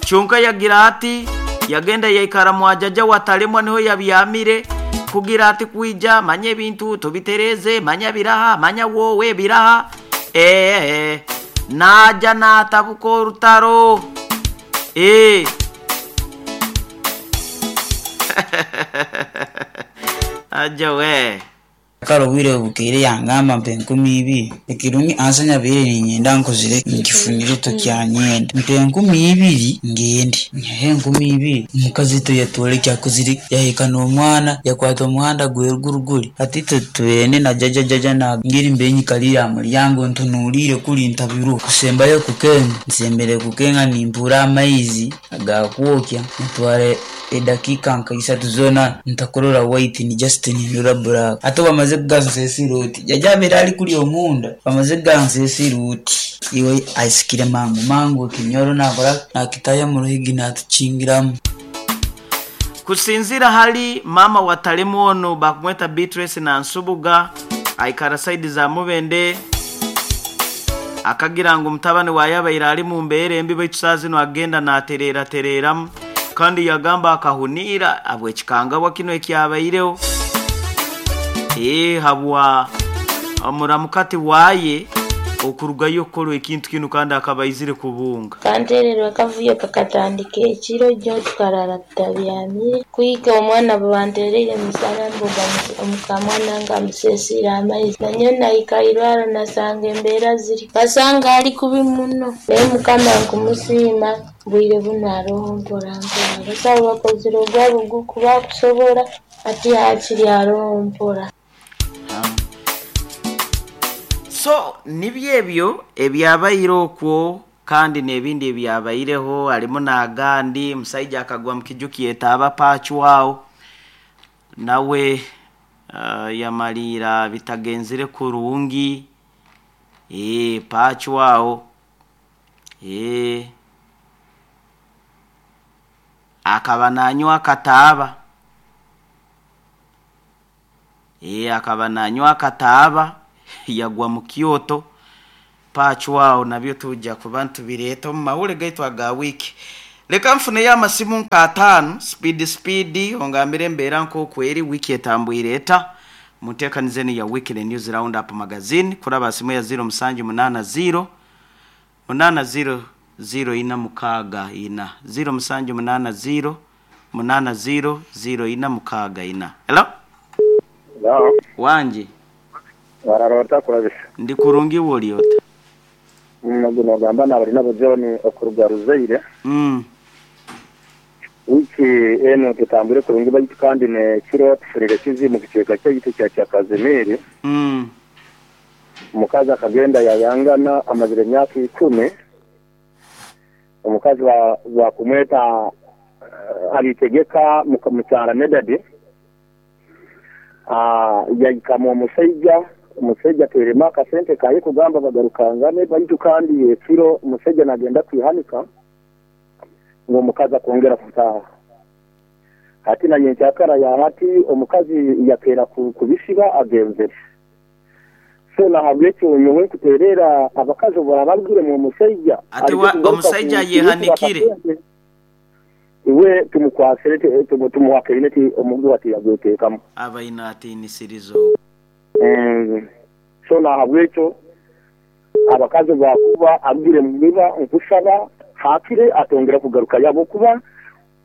Kyonka yagira ati yagenda yaikara mwajaja watalemwa niho yabyamire kugira ati kwija manya ebintu tubitereze, manya biraha, manya wowe biraha. Naja natabuka orutaro. Aja we. Kare obwire bukeire yangamba mpa 20,000. Ekirungi ansa nyabaire ninyenda nkozire nkifunire tokyanyenda. Mpa 20,000 ngende. Nyihaho 20,000 omukazi toyatwara ekyakozire yahika n'omwana yakwata omuhanda gweruguru guri. Hati itwe tubaire na jaja jaja ngiri mbaire nyikariire aha muryango ntunuuriire kuri ntabirwe. Kusembayo kukenga nsembere kukenga nimpura amaizi agakwokya nitwara edakiika nka 3 zoona ntakurora white ni just nindora black. Hati bamaze kugansesira oti jaja abaire ari kuri omunda bamaze kugansesira oti iwe aisikire mangu mangu ekinyoro nakora nakitaya mu ruhigi natukingiramu. Kusinzira hali mama watalemu ono bakumweta Beatrice na Nsubuga aikara side za Mubende akagira ngu mutabani wa yabaire ali mu mbeere embi baitu saa zino agenda naterera tereramu kandi yagamba akahunira abwekikangabwa kino ekyabaireho. Habwa omuramukati waye okurugayo okukora ekintu kino kandi akabaizire kubunga. Kantererwa akavuyo kakatandika ekiro jjo tukarara tutabyamire kuhika omwana bwe bantereire musana mbuga omukamwana nga amusesiire amaizi nanyowe nahika irwaro nasanga embeera ziri basanga ali kubi muno naye Mukama nkumusiima bwire bunu aroho mpora mpora abasawo bakozire ogwabo ogukuba kusobora ati hakiri aroho mpora. So nibyo ebyo ebyabaire okwo kandi n'ebindi ebyabaireho harimu n'agandi omusaija akagwa mu kiju kyetaaba pachwawo nawe yamaliira bitagenzire kurungi. Pachwawo akaba nanywa akataaba. Akaba nanywa akataaba yagwa mu Kyoto. Pachwao nabyo tujja kuba ntubireeta omu mawulire gaitu aga wiiki. Leka nfuneyo amasimu nka 5 speed speed ongambire embeera nk'oku eri wiiki etambwire eta munteekanize enu ya Weekly News Roundup Magazine kuraba simu ya 0780 80 0464 0780 80 0464. Hello? Hello. Wanje. Wararota kurabisa. Ndi kurungi woliota. Nabwo nogamba nabali nabo John okuruga Ruzaire. Wiki eno tutambure kurungi baitu kandi ne kiro tufurire kizi mu kicweka kyaitu kya Kazimiri. Omukazi akagenda yayangana amazire emyaka 10. Omukazi wa kumweta alitegeka mukyara Medadi. Yayikamu omusajja terema akasente kaye kugamba bagarukangane baitu kandi ekiro omusajja nagenda kwihanika ngo omukazi akongera kutaha. Hati na nyenkyakara ya hati omukazi yakera kubisiba agenzere. So nahabwekyo nyowe nkuterera abakazi barababwire mu musajja ati omusajja yehanikire iwe tumukwasire tumuwakirine ti omuntu ati yagwetekamu abaina atinisirizo. So nahabwekyo abakazi bakuba abwire mubiba nkusaba hakire atongera kugaruka yabo kuba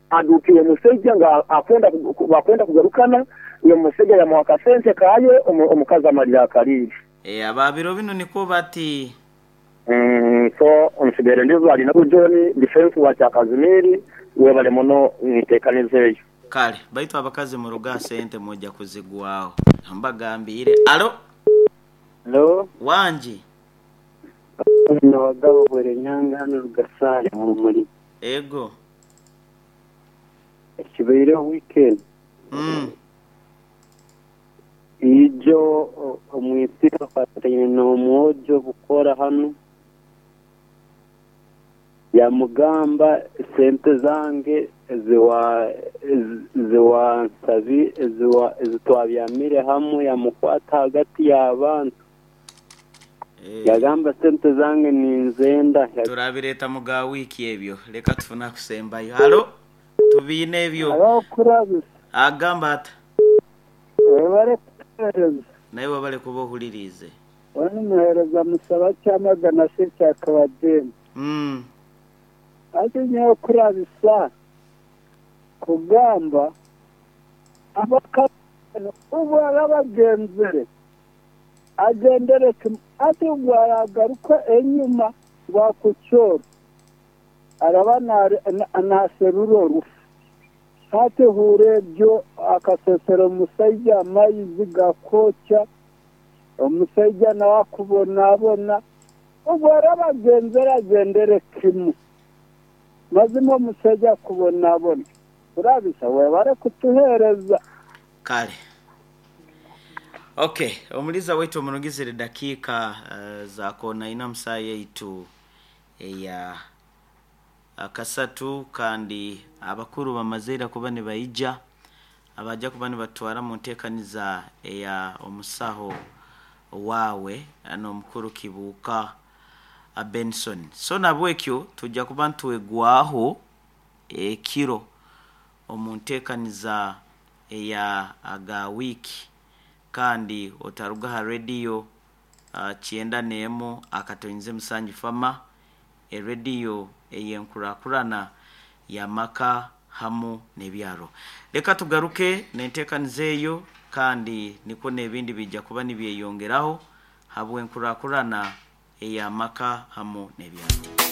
adukiye musajja nga akwenda kugarukana iyo musajja yamuwaka sente kaye omukazi amalira akaliri. Ababiro bino niko bati so onsigere ndizo ali nabo John defense wa Kazimiri webale muno ntekanizeyo. Kale baitu abakazi muruga sente moja kuzigwaho mbagambire. Alo. Hello. Wanji. Nabagabo bwere nyanga hano rugasare mu muri. Ego. Kibaire weekend. Ijo omwitiro fatanye n'omwojo bukora hano yamugamba sente zange ziwa nsabi ziwa ezitwabyamire hamwe yamukwata hagati y'abantu. Yagamba sente zange ninzenda. Turabireeta mu ga wiiki ebyo. Leka tufune akusembayo. Halo, tubiine ebyo. Abakurabisa. Agamba ata? Webale kutuheereza. Naye webale kuba ohuririize. Onu muheereza musaba Kyamagana si Kyakabadeni. Hati nyowe kurabisa kugamba abakazi obu araba agenzere agendere kimu, hati obu aragaruka enyuma ngu akukyora araba naserura orufu. Hati hurra ebyo akasesera omusaija amaizi gakwokya, omusaija nawe akubonabona. Obu araba agenzere agendere kimu, mazima omusaija akubonabona. Kurabisa webale kutuheereza. Kale. Okay, omuliza waitu omurugizire dakiika za kona ina musaa yaitu eya akasatu, kandi abakuru bamazeire kuba nibaija abaja kuba nibatwara mu nteekaniza eya omusaho waawe n'omukuru Kibuuka Benson. So nabwekyo tujja kuba ntwegwaho ekiro omu nteekaniza eya aga wiiki, kandi otaruga ha rediyo 91.7 Fama, erediyo ey'enkurakurana y'amaka hamu n'ebyaro. Leka tugaruke n'enteekaniza eyo, kandi nikwo n'ebindi bijja kuba nibyeyongeraho habw'enkurakurana ey'amaka hamu n'ebyaro.